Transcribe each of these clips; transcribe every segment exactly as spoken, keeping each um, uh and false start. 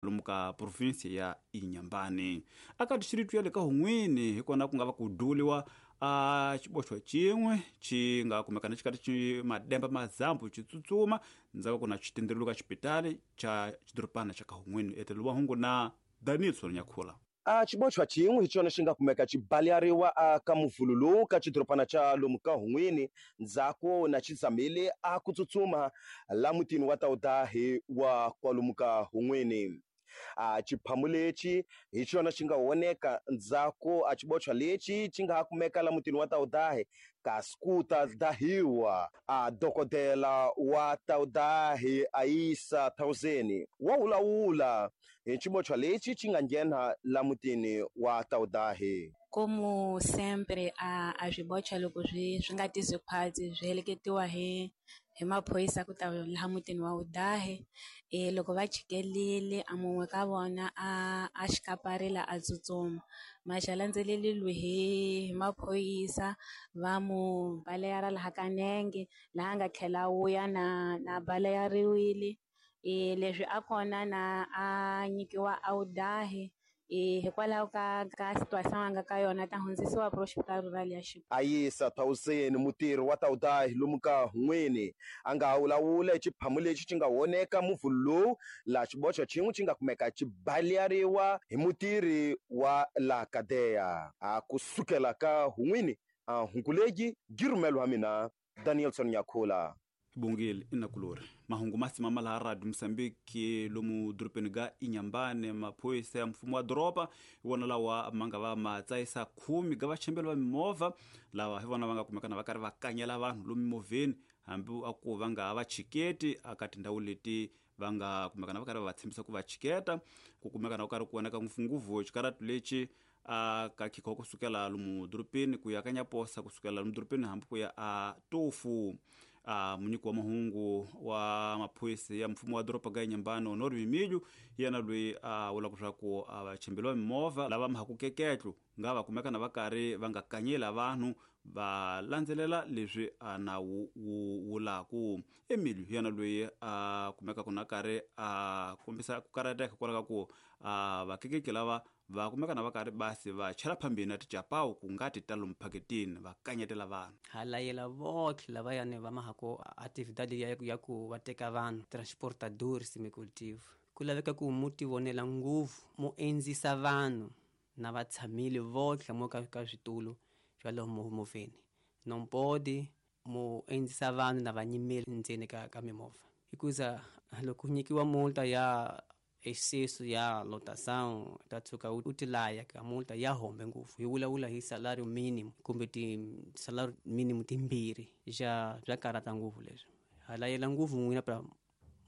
Lomu ka provinsi ya Inhambane aka distritu ya le ka Hun'wini hi kona ku nga va ku duliwa a xiboxo xin'we xi nga kumekana xi karhi xi mademba mazambu xi tsutsuma ndzhaku ku na xitendrelo ka xipitali xa xidorobana xa ka Hun'wini etelo wa hungu na Danielson Nyakhula. A xiboxwa xin'we hi xona xi nga kumeka xi baleriwa a ka muvhulu lowu ka xidorobana xa lomu ka Hun'wini ndzhaku na xi zamile a ku tsutsuma la mutini wa Taudahi wa kwalomu ka Hun'wini. A xiphamu lexi hi xona xi nga voneka ndzhaku a xiboxwa lexi xi nga ha kumeka la mutini wa Taudahi kasi ku ta dahiwa a dokodela wa Taudahi Aisa Thousand wa vulavula hi xiboxwa lexi xi nga nghena la mutini wa Taudahi. Como sempre a a swiboxwa loko swi swi nga tizi khwatsi swi heleketiwa hi hi maphorisa ku ta laha mutini wa Udahe. E loko va chikelile a mun'we ka vona a a xikaparela a tsutsuma maxa landzeleliwe hi hi maphorisa va mu baleyara laha ka nenge laha nga tlhela wuya na na baleyariwile. E leswi a kona na a nyikiwa a Udahe e hikwalaho ka ka situação a nga ka yona ta hundzisiwa pro hospital rural ya Xi. Ayisa Thousand mutirhi wa Taudahi lomu ka Hun'wini a nga ha vulavula hi xiphamu lexi xi nga voneka muvhulu lowu laha xiboxo xin'we xi nga kumeka xi baleriwa hi mutirhi wa la Kadeya. A kusukela ka Hun'wini a hunguleji girumelo wa mina Danielson Nyakhula. Bongile inakulori mahungu masimama laha Radio Mozambique lomu dorobeni ga Inhambane maphorisa ya mfumo wa doroba hi wona lawa ma nga va ma tsayisa khume ga vachembeli va mimovha lava hi vona va nga kumekana va karhi va kanyela vanhu lomu mimovheni hambi a ku va nga va chiketi aka tindhawu leti va nga kumekana va karhi va va tshembisa ku va chiketa ku kumekana ku karhi ku vonaka ngopfungopfu xikaratu lexi a ka khikho kusukela lomu dorobeni ku ya ka Nyaposa kusukela lomu dorobeni hambi ku ya a Tofu. A munyiki wa mahungu wa maphorisa ya mfumo wa doroba ga Inhambane Honor Mimilho yena loyi a vulaka leswaku a vachembeli va mimovha lava mahaku keketlo nga va kumekana va karhi va nga kanyela vanhu va landzelela leswi a nawu wu vulaku. Emilio yena loyi a kumekaka na karhi a kombisa ku karhateka hikwalaho ka ku a vakekeki lava va kumekana va karhi basi va chela phambeni na tijapawu ku nga ti ta lomu phaketini va kanyetela vanhu. Ha layela votlhe lavayani va mahako atividade ya, ya ku va teka vanhu transportadores semicultivo ku laveka ku mu ti vonela ngopfu mu endzisa vanhu na va tshamile votlhe mo ka ka switulu swa lomu movheni non pode mu endzisa vanhu na va nyimeli ndzeni ka ka mimovha hikuza loko nyikiwa multa ya excesso ya lotação ta tshuka u tilaya ka multa ya hombe ngopfu hi vulavula hi salario mínimo kumbe ti salario mínimo timbirhi ja bya karata ngopfu leswi ha layela ngopfu n'wina pra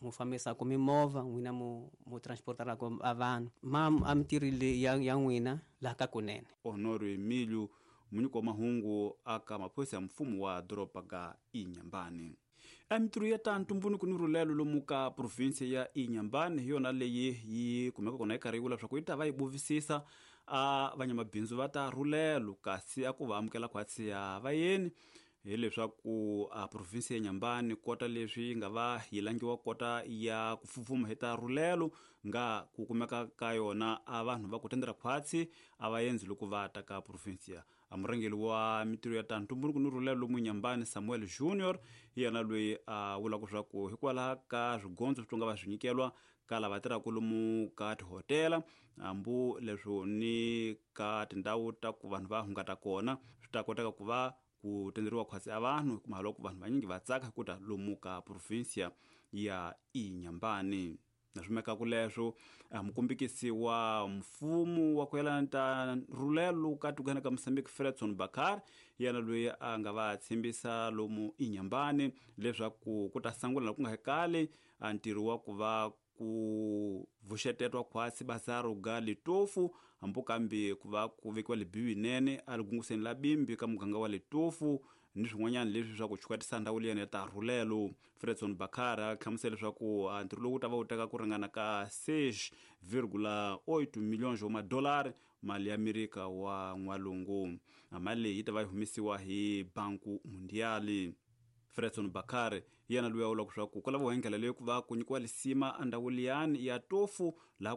mu fambisaka mimovha n'wina mu mu transportaraka a vanhu ma a mitirhi ya ya n'wina laha ka kunene. Honor Emilio munyiki wa mahungu aka maphorisa ya mfumo wa doroba ga Inhambane. Emitirho ya ta ntumbuluko ni rhulelo lomu ka provinsi ya Inhambane hi yona leyi yi kumeka kona yi karhi yi vula leswaku yi ta va yi buvisisa a vanyamabindzu va ta rhulelo kasi a ku va amukela khwatsi ya vayeni hileswaku a provinsi ya Inhambane kota leswi yi nga va yi langiwa kota ya ku fufuma hi ta rhulelo nga ku kumeka ka yona a vanhu va ku tendela khwatsi a va endzi loko va ta ka provinsi ya. A murhangeri wa mitirho ya ta ntumbuluko ni rhulelo lomu Inhambane Samuel Junior hi yena loyi a vulaka leswaku hikwalaho ka swigondzo swi nga va swi nyikelwa ka lava tirhaka lomu ka tihotela hambi leswo ni ka tindhawu ta ku vanhu va hungata kona swi ta koteka ku va ku tenderiwa khwatsi a vanhu hikuva loko vanhu vanyingi va tsaka ku ta lomu ka provinsia ya Inhambane. Naswimeka leswo mukombekisi wa mfumo wa ku yelana ta rhulelo ka tikweni ka Mozambique Fredson Bakar yena loyi a nga va tshembisa lomu Inhambane leswaku ku ta sangula ku nga hekali ntirho wa ku va ku vuxetetwa khwatsi bazaro ga Litofu hambi kambe ku va ku vekiwa libiwi nene a ligunguseni la bimbi ka muganga wa Litofu ni swin'wanyana leswi swa ku chukatisa ndhawu liyani ya ta rhulelo. Fredson Bakar a hlamusela leswaku ntirho lowu ta va wu teka ku ringana ka seis vírgula oito milhões wa madolari mali ya Amerika wa n'walungu. Mali leyi yi ta va yi humesiwa hi Banku Mundiali. Fredson Bakar yena loyi a vulaka leswaku ku lava ndlela leyi ku va ku nyikiwa lisima endhawu liyani ya Tofu laha ku